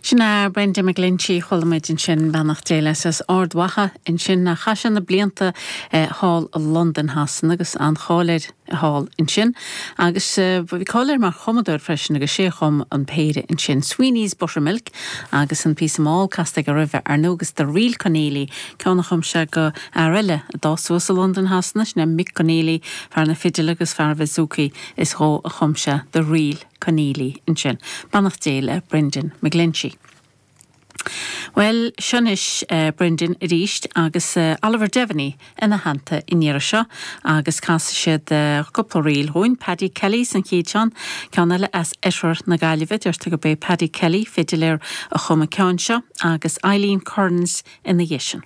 Sin é Brendan McGlinchey, chuala muid ansin beannacht Dé leis as Ard Mhacha ansin. Chaith sé na blianta thall i Londain Shasana agus an-cháil air thall ansin. Agus bhí cáil air mar chumadóir freisin agus sé a chum an péire ansin, Sweeney's Buttermilk agus an píosa mall casta aige roimhe ar ndóigh agus The Real Conneely, ceann a chum sé do fhear eile a d'fhás suas i Londain Shasana, sin é Mick Conneely, fear na fidile agus fear an bhouzouki, is dhó a chum sé The Real. Conneely ansin. Beannacht Dé le Brendan McGlinchey. Bhuel, seo anois Brendan arís agus Oliver Devaney ina theannta an iarraidh seo agus casfaidh siad cúpla ríl dhúinn. Paddy Kelly's an chéad cheann, ceann eile as oirthear na Gaillimhe. Deirtear gurb é Paddy Kelly, fidiléir, a chum an ceann seo agus Eileen Kearns ina dhiaidh sin.